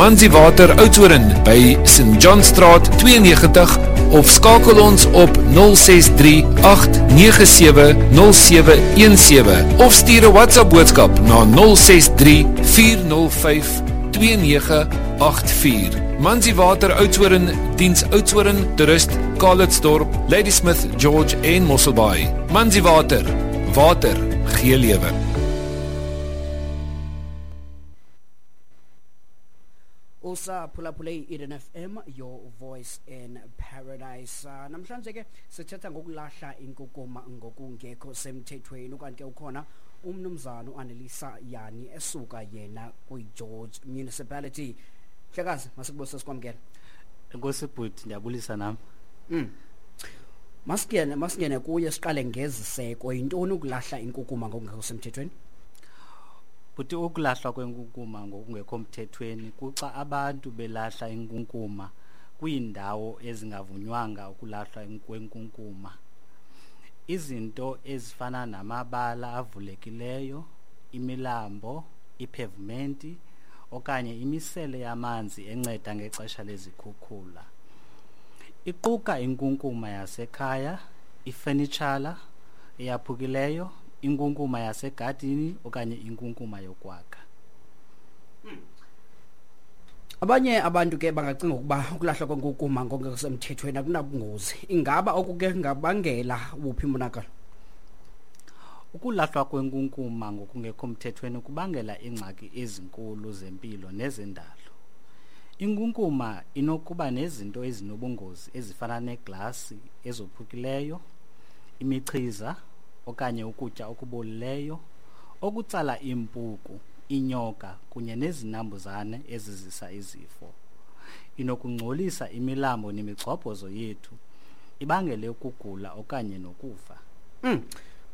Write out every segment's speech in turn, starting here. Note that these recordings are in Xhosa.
Manzi Water Oudtshoorn by St John Straat 92 of skakel ons op 063 897 0717 of stuur 'n WhatsApp boodskap na 063 405 2984. Manzi Water Oudtshoorn, diens Oudtshoorn, Toerust, Calitzdorp, Ladysmith, George en Mosselbaai. Manzi Water, water gee lewe. Usaphulaphule i-Eden FM, your voice in paradise. Namhlanje ke sithetha ngokulahla inkukuma ngokungekho semthethweni, ukanti ke ukhona umnumzana uAnelisa Yani esuka yena kwi-George Municipality. Mhlekazi, masikubuse, sikwamkela. Enkosi bhuti, ndiyabulisa nam. Masingene kuye, siqale ngeziseko. Yintoni ukulahla inkukuma ngokungekho semthethweni? Bhuti, ukulahlwa kwenkunkuma ngokungekho mthethweni kuxa abantu belahla inkunkuma kwiindawo ezingavunywanga ukulahlwa kwenkunkuma. Izinto ezifana namabala avulekileyo, imilambo, iphevumenti okanye imisele yamanzi enceda ngexesha lezikhukhula. Iquka inkunkuma yasekhaya, ifenitshala eyaphukileyo, inkunkuma yasegadini okanye inkunkuma yokwakha. Abanye abantu ke bangacinga ukuba ukulahlwa kwenkukuma ngokungekho semthethweni akunabungozi. Ingaba oku ke kungabangela wuphi umonakalo? Ukulahlwa kwenkunkuma ngokungekho mthethweni kubangela iingxaki ezinkulu zempilo nezendalo. Inkunkuma inokuba nezinto ezinobungozi ezifana neglasi ezophukileyo, imichiza okanye ukutya okubolileyo, okutsala iimpuku, iinyoka kunye nezinambuzane ezizisa izifo. Inokungcolisa imilambo nemigxobhozo yethu, ibangele ukugula okanye nokufa.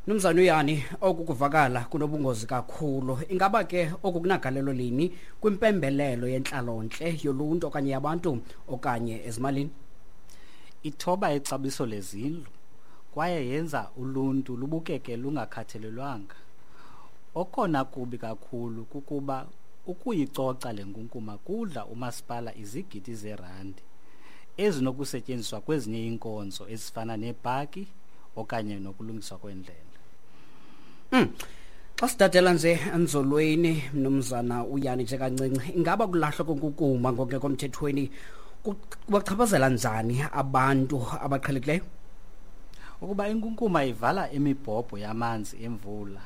Mnumzana uYani, oku kuvakala kunobungozi kakhulu. Ingaba ke oku kunagalelo lini kwimpembelelo yentlalontle yoluntu okanye yabantu okanye ezimalini? Ithoba ixabiso lezindlu kwaye yenza uluntu lubukeke lungakhathalelwanga. Okona kubi kakhulu kukuba ukuyicoca le nkunkuma kudla umasipala izigidi zeerandi ezinokusetyenziswa kwezinye iinkonzo ezifana neepaki okanye nokulungiswa kwendlela. Xa sidadela nje enzolweni, mnumzana uYani, nje kancinci, ingaba kulahlwa kwenkukuma ngokungekho mthethweni kubachaphazela njani abantu abaqhelekileyo? Ukuba inkunkuma ivala imibhobho yamanzi emvula,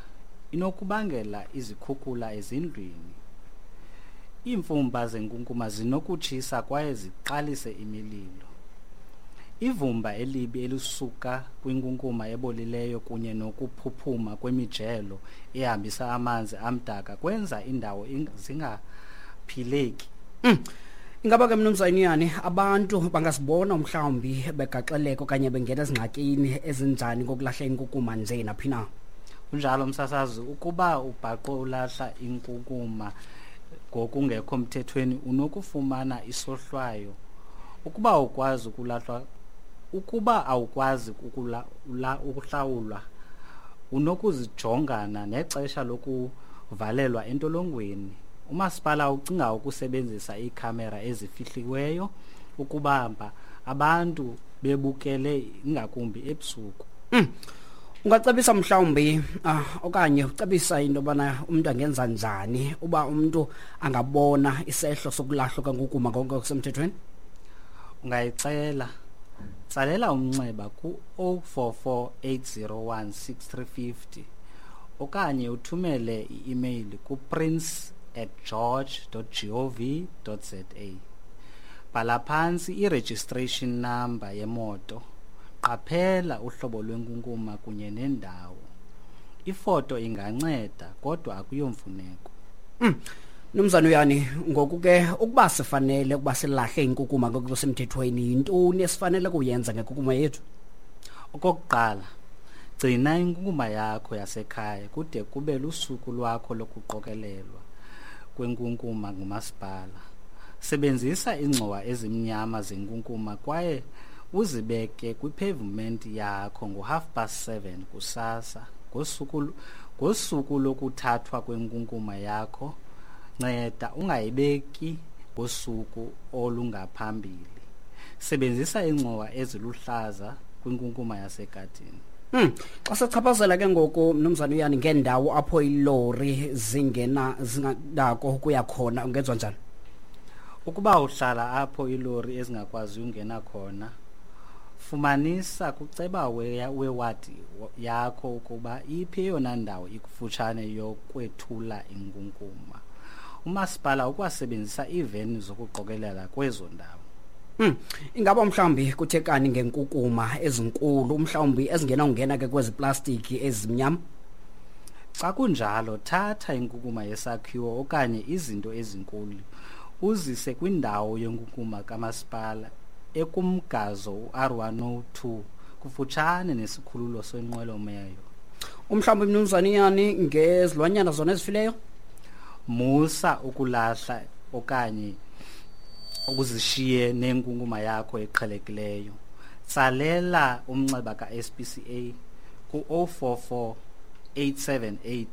inokubangela izikhukhula ezindlwini. Iimfumba zenkunkuma zinokutshisa kwaye ziqalise imililo. Ivumba elibi elisuka kwinkunkuma ebolileyo kunye nokuphuphuma kwemijelo ehambisa amanzi amdaka kwenza indawo zingaphileki. Ingaba ke, mnumzana Yani, abantu bangasibona mhlawumbi begaxeleka okanye bengena ezingxakini ezinjani ngokulahla inkukuma nje naphi na? Kunjalo msasazi, ukuba ubhaqwe ulahla inkunkuma ngokungekho mthethweni unokufumana isohlwayo. Ukuba ukwazi ukulahlwa ukuba awukwazi ukuhlawulwa, unokuzijongana nexesha lokuvalelwa entolongweni. Umasipala ucinga ukusebenzisa iikhamera ezifihliweyo ukubamba abantu bebukele, ingakumbi ebusuku. Ungacebisa mhlawumbi okanye ucebisa into yobana umntu angenza njani uba umntu angabona isehlo sokulahlwa kwenkukuma ngokusemthethweni? Ungayixela. Tsalela umnxeba ku-044 801 6350 okanye uthumele i-email ku-prince@george.gov.za. Bhala phantsi i-registration number yemoto, qaphela uhlobo lwenkunkuma kunye nendawo. Ifoto inganceda, kodwa akuyomfuneko. Mnumzana uYani, ngoku ke ukuba sifanele ukuba silahle inkukuma ngokusemthethweni, yintoni esifanele kuyenza ngenkukuma yethu? Okokuqala, gcina inkunkuma yakho yasekhaya kude kube lusuku lwakho lokuqokelelwa kwenkunkuma ngumasipala. Sebenzisa iingxowa ezimnyama zenkunkuma kwaye uzibeke kwipavement yakho ngo-7:30 kusasa ngosuku lokuthathwa kwenkunkuma yakho. Nceda ungayibeki ngosuku olungaphambili. Sebenzisa iingxowa eziluhlaza kwinkunkuma yasegadini. Xa sichaphazela ke ngoku, mnumzana uYani, ngeendawo apho ilori zingena zinganako ukuya khona, ungenziwa njani? Ukuba uhlala apho iilori ezingakwazi ungena khona, fumanisa kuceba wewadi yakho ukuba iphi eyona ndawo ikufutshane yokwethula inkunkuma. Umasipala ukwasebenzisa iiveni zokuqokelela kwezo ndawo. Ingaba mhlawumbi kuthekani ngenkukuma ezinkulu, mhlawumbi ezingenawungena ke kwezi plastiki ezimnyama? Xa kunjalo, thatha inkukuma yesakhiwo okanye izinto ezinkulu uzise kwindawo yenkunkuma kamasipala ekumgazo u-R102 kufutshane nesikhululo senqwelomoya. Umhlawumbi, mnumzana Iyani, ngezilwanyana zona ezifileyo? Musa ukulahla okanye ukuzishiye nenkunkuma yakho eqhelekileyo. Tsalela umnxeba ka-SPCA ku-044 878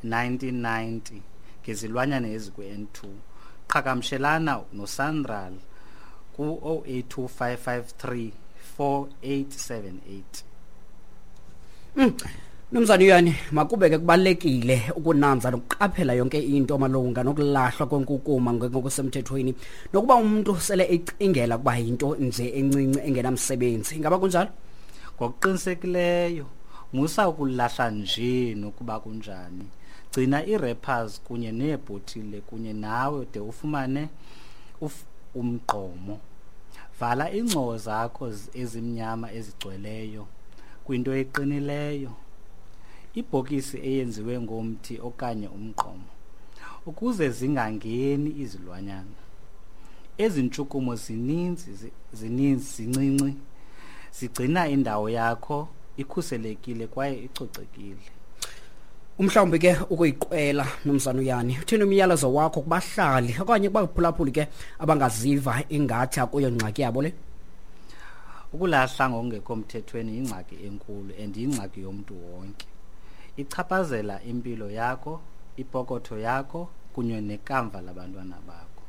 1990 ngezilwanyana ezikwi-N2. Qhagamshelana noSANRAL ku-082 553 4878. Mnumzana Uyani, makube ke kubalulekile ukunanza nokuqaphela yonke into malunga nokulahlwa kwenkukuma ngokusemthethweni, nokuba umuntu sele ecingela ukuba yinto nje encinci engenamsebenzi. Ingaba kunjalo? Ngokuqinisekileyo, musa ukulahla nje nokuba kunjani. Gcina ii-wrappers kunye neebhotile kunye nawe de ufumane umgqomo. Vala iingxowa zakho ezimnyama ezigcweleyo kwinto eqinileyo, ibhokisi eyenziwe ngomthi okanye umgqomo, ukuze zingangeni izilwanyana. Ezi ntshukumo zininzi zininzi zincinci zigcina indawo yakho ikhuselekile kwaye icocekile. Umhlawumbi ke ukuyiqwela, mnumzana Uyani, uthini umyalezo wakho kubahlali okanye kubaphulaphuli ke abangaziva ingathi akuyo ngxaki yabo le? Ukulahla ngokungekho mthethweni yingxaki enkulu and yingxaki yomntu wonke. Ichaphazela impilo yakho, ipokotho yakho kunye nekamva labantwana bakho.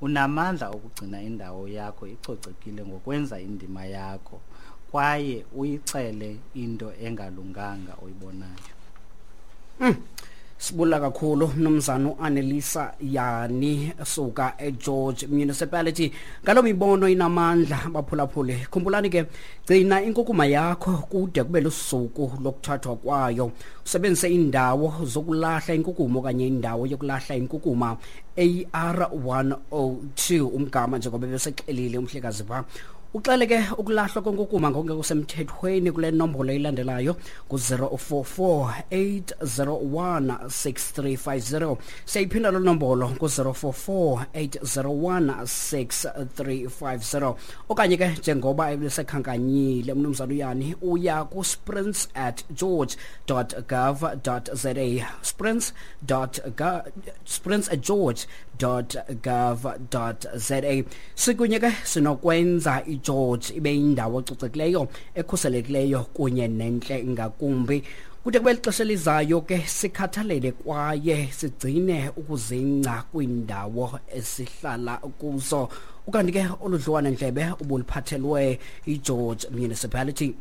Unamandla okugcina indawo yakho icocekile ngokwenza indima yakho kwaye uyixele into engalunganga oyibonayo. Sibula kakhulu mnumzana uAnelisa Yani suka eGeorge Municipality ngaloo mibono inamandla. Baphulaphule, khumbulani ke, gcina inkukuma yakho kude kube lusuku lokuthathwa kwayo, usebenzise indawo zokulahla inkukuma okanye indawo yokulahla inkukuma AR102 umgama, njengoba besexelile umhlekazi pha. Uxele ke ukulahlwa kwenkukuma ngokungekho semthethweni kule nombolo ilandelayo, ku-044 801 6350. Siyayiphinda loo nombolo, ku-044 801 6350. Okanye ke, njengoba ebesekhankanyile umnumzana Uyani, uya ku-sprints@george.gov.za, sprints@george.gov.za. Sikunye ke sinokwenza iGeorge ibe yindawo ecocekileyo, ekhuselekileyo kunye nentle ngakumbi. Kude kube lixesha elizayo ke, sikhathalele kwaye sigcine ukuzingca kwiindawo esihlala kuzo. Ukanti ke olu dliwano ndlebe ubuliphathelwe iGeorge Municipality.